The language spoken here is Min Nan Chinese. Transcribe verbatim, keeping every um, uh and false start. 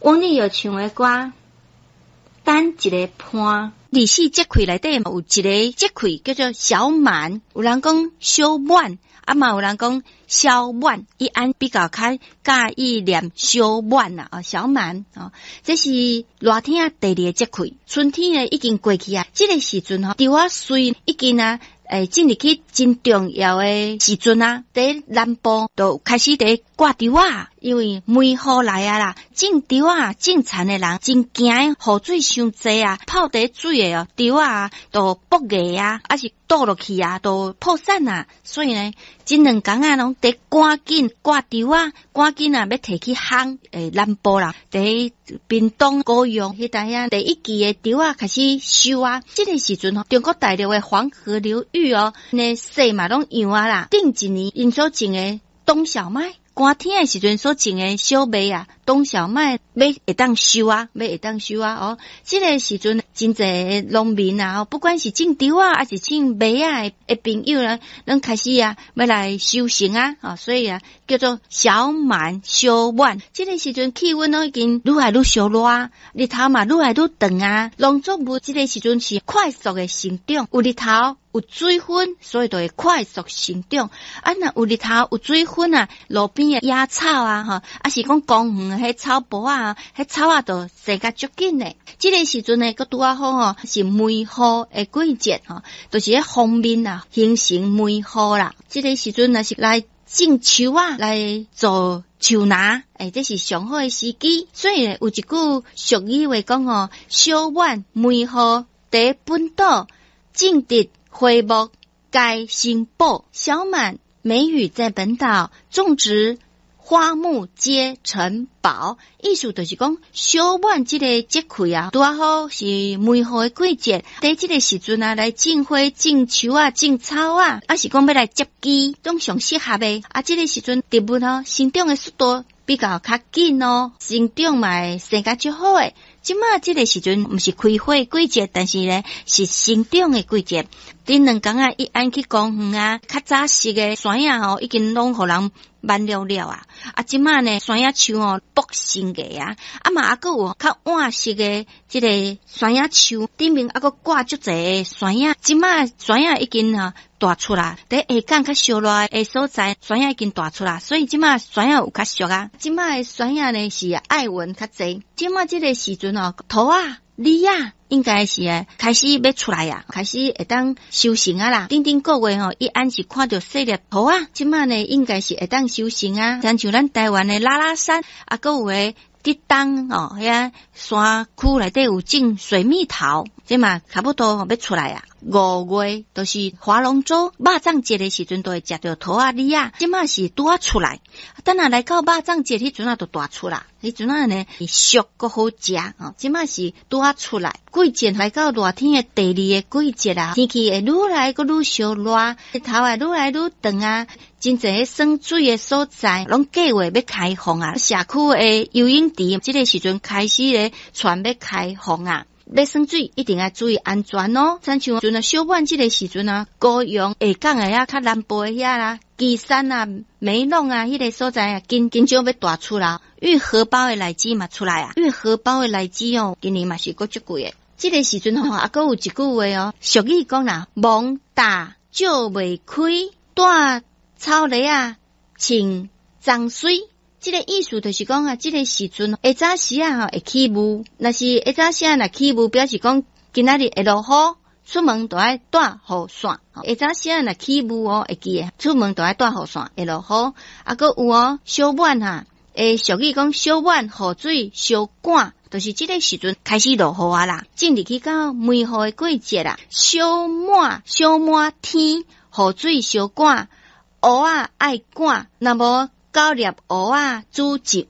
王力又唱的歌，等一个伴。二十四節氣內底有一个節氣叫做小滿，有人講小滿，啊嘛有人講小滿，伊按比較較喜歡念小滿啊，哦小滿哦，這是熱天第二个節氣，春天呢已經過去啊，這个時陣吼，稻仔穗已經啊。會進入去真重要的時陣啊，佇南部就開始佇掛稻仔，因為梅雨來啊啦，種稻仔種田的人真驚雨水傷濟啊，泡佇水的哦，稻仔都爆芽啊，抑是倒落去啊，都破產啊，所以呢，這兩工啊，攏佇趕緊掛稻仔，趕緊啊，欲提去烘，欸南部啦，佇屏東高雄彼搭遐第一季的稻仔開始收啊，這个時陣吼，中國大陸的黃河流域哦，那雪嘛攏融啊啦，頂一年𪜶所種的冬小麥，寒天的時陣所種的小麥啊，冬小麥欲會當收啊，欲會當收啊哦。這个時陣真濟農民啊，不管是種稻仔，抑是種麥仔的朋友呢，攏開始啊，欲來收成啊，哦，所以啊，叫做小滿小滿。這个時陣氣溫攏已經愈來愈燒熱，日頭嘛愈來愈長啊。農作物這个時陣是快速的成長，有日頭有水分，所以就會快速成長。啊，若有日頭有水分啊，路邊的野草啊，吼，抑是講公園彼草埔仔，彼草仔就生甲足緊的。這个時陣呢，閣拄仔好吼，是梅雨的季節吼，就是彼鋒面啊，形成梅雨啦。這个時陣若是來種樹仔，來做樹林，欸，這是上好的時機。所以有一句俗語話講吼，小滿梅雨佇本島種植花木皆成寶。小滿梅雨在本島種植花木皆成寶，意思就是講小滿這个節氣啊，拄仔好是梅雨的季節，佇這个時陣啊，來種花、種樹仔、種草仔，抑是講欲來接枝，攏上適合的。啊，這个時陣植物吼生長的速度比較較緊哦，生長嘛會生甲足好的。這馬這个時陣毋是開花季節，但是呢是生長的季節。頂兩工啊，一按去公園啊，較早熟的山仔吼，已經攏予人挽了了啊。啊，這馬呢山仔樹吼爆新芽啊，啊嘛猶閣有較晚熟的這个山仔樹，頂面猶閣掛足濟山仔。這馬山仔已經吼大出來，佇下港較燒熱的所在，山仔已經大出來，所以這馬山仔有較俗啊。這馬的山仔呢是愛文較濟。這馬這个時陣吼，桃仔、李仔應該是開始欲出來啊，開始會當收成啊啦。頂頂個月吼，伊按是看著細粒桃仔，這馬呢應該是會當收成啊。親像咱台灣的拉拉山，啊，閣有的浙東哦，遐山區內底有種水蜜桃，這嘛差不多欲出來啊。五月就是划龍舟、肉粽節的時陣，都會食著桃仔李仔，這馬是拄仔出來。等下來到肉粽節彼陣仔就大出啦，彼陣仔呢熟閣好食哦。這馬是拄仔出來，季節來到熱天的第二个季節啊，天氣會愈來閣愈燒熱，日頭會愈來愈長啊。真濟耍水的所在，攏計劃欲開放啊。社區的游泳池，這个時陣開始咧，傳欲開放啊。欲耍水一定愛注意安全哦。親像陣啊小滿這个時陣啊，高雄下港的遐較南部的遐啦，旗山啊、梅陇啊，彼个所在啊，緊緊張欲大出來。玉荷包的荔枝嘛出來啊，玉荷包的荔枝哦，今年嘛是閣足貴的。這个時陣吼，猶閣有一句話哦，俗語講啦，魍大石袂開，帶草履仔，穿髒水。這个意思就是講啊，這个時陣下早時啊吼會起霧，若是下早時啊若起霧，表示講今仔日會落雨，出門就愛帶雨傘。下早時啊若起霧哦，會記得出門就愛帶雨傘，會落雨。啊，閣有哦，小滿哈，會俗語講小滿雨水相趕，就是這个時陣開始落雨啊啦，進入去到梅雨的季節啦。小滿小滿天，雨水相趕，芋仔愛趕，若無九粒芋仔煮一